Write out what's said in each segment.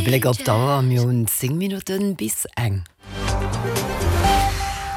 De Bléck op d'Auer, mir hunn 10 Minutten bis eng.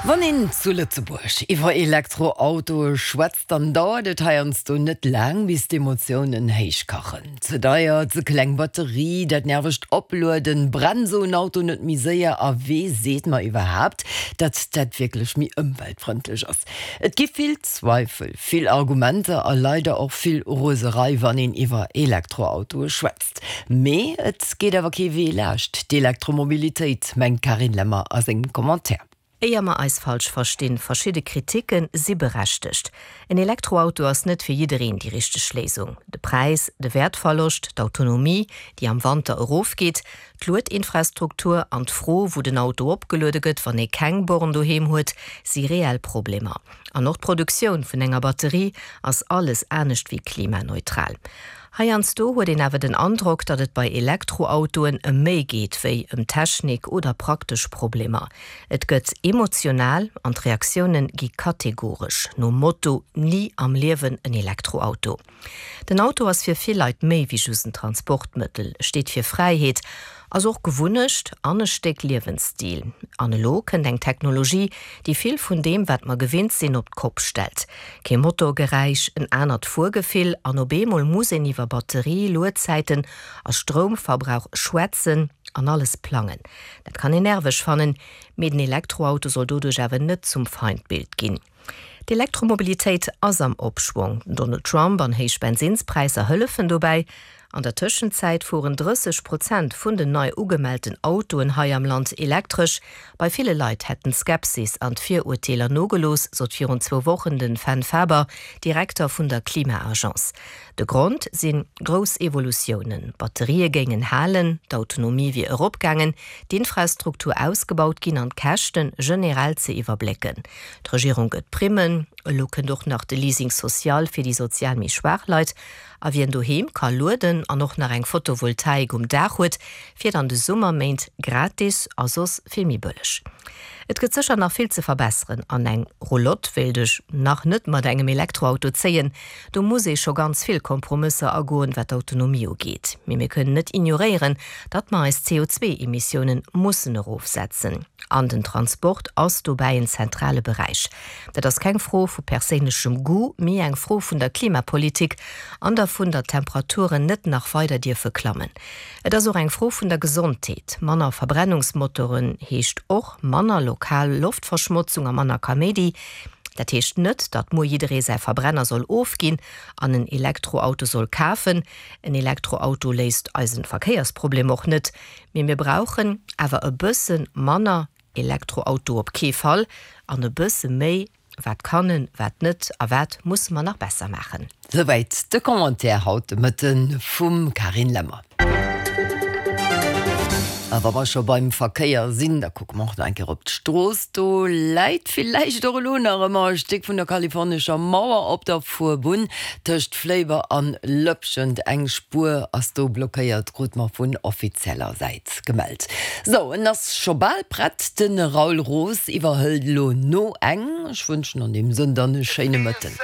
Wann een zu Lëtzebuerg iwwer Elektroautoe schwätzt, dann dauert et heiansdo net laang, bis d'Emotiounen héichkachen. Ze deier, ze kleng Batterie, dat nervegt Oplueden, brennt esou en Auto net méi séier a wee seet mer iwwerhaapt, datt dat wierklech méi ëmweltfrëndlech ass? Et gi vill Zweifel, vill Argumenter a leider och vill Roserei, wann een iwwer Elektroautoe schwätzt. Mee et geet awer kee Wee laascht d'Elektromobilitéit, mengt d'Carine Lemmer a sengem Commentaire. Éier mer eis falsch verstinn, verschidde Kriticken si berechtegt. En Elektroauto ass net fir jiddereen déi richteg Léisung. De Präis, de Wäertverloscht, d'Autonomie, déi am Wanter erofgeet, D'Luedinfrastruktur an d'Fro, wou den Auto opgeluede gëtt, wann ee keng Born doheem huet, si reell Problemer. An och d'Produktioun vun enger Batterie ass alles anescht wéi klimaneutral. Heiansdo huet een awer den Androck, datt et bei Elektroautoen ëm méi geet wéi ëm Technik oder praktesch Problemer. Et gëtt emotional an d'Reaktioune gi kategoresch, nom Motto Ni am Liewen en Elektroauto. Den Auto ass fir vill Leit méi wéi just en Transportmëttel, e steet fir Fräiheet, ass och Gewunnecht an e Stéck Liewensstil. An elo kënnt eng Technologie, déi vill vun deem, wat mer gewinnt sinn, op d'Kopp stellt. Kee Motorgeräisch, en anert Fuergefill an op eemol muss een iwwer Batterie, Luedzäiten a Stroumverbrauch schwätzen an alles plangen. Dat kann een nerveg fannen, mee den Elektroauto soll doduerch awer net zum Feindbild ginn. D'Elektromobilitéit ass am Opschwong. Den Donald Trump an héich Bensinnspräisser hëllefen dobäi. An der Tëschenzäit fueren 30 Prozent vun den nei ugemellten Autoen hei am Land elektresch. Bei ville Leit hätten d'Skepsis an d'Virurteeler nogelooss, sot virun zwou Wochen den Fenn Faber, Direkter vun der Klima-Agence. De Grond si grouss Evolutiounen, Batterië géingen halen, d'Autonomie wier eropgaangen, d'Infrastruktur ausgebaut ginn an d'Käschte generell ze iwwerblécken. D'Regierung gëtt Primmen, elo kënnt och nach de Leasing social fir déi sozial méi schwaach Leit. A wien doheem ka lueden an och nach eng Photovoltaik um Daach huet, fiert an de Summerméint gratis a soss vill méi bëlleg. Et gëtt sécher nach vill ze verbesseren an eng Roulotte wéilt ech nach net mat engem Elektroauto zéien. Do muss ee scho ganz vill Kompromësser agoen, wat d'Autonomie ugeet. Mee mir kënnen net ignoréieren, datt mer eis CO2-Emissiounen mussen erofsetzen. An den Transport ass dobäi en zentrale Beräich. Dat ass keng Fro vu perséinlechem Goût, mee eng Fro vun der Klimapolitik an dervun, datt d'Temperaturen net nach weider dierfe klammen. Et ass och eng Fro vun der Gesondheet. Manner Verbrennungsmotoren heescht och manner lokal Loftverschmotzung a manner Kaméidi. Dat heescht net, datt muer jidderee säi Verbrenner soll ofginn an en Elektroauto soll kafen. En Elektroauto léist eisen Verkéiersproblem och net. Mee mir brauchen awer e bësse manner Elektroauto op kee Fall an e bësse méi wat kann en, wat net a wat musse mer nach besser maachen. Souwäit de Commentaire haut de Mëtte vum Carine Lemmer. A wa mer scho beim Verkéier sinn, da kucke mer och nach eng Kéier op d'Strooss. Do läit villäicht och elo nach ëmmer e Stéck vun der kalifornescher Mauer op der Fuerbunn tëscht Fléiber an Lëpschent. Eng Spuer ass do blockéiert, krut mer vun offizieller Säit gemellt. Sou, en ass scho bal prett, de Raoul Roos iwwerhëlt elo no eng. Ech wënschen an deem Sënn dann e schéine Mëtten.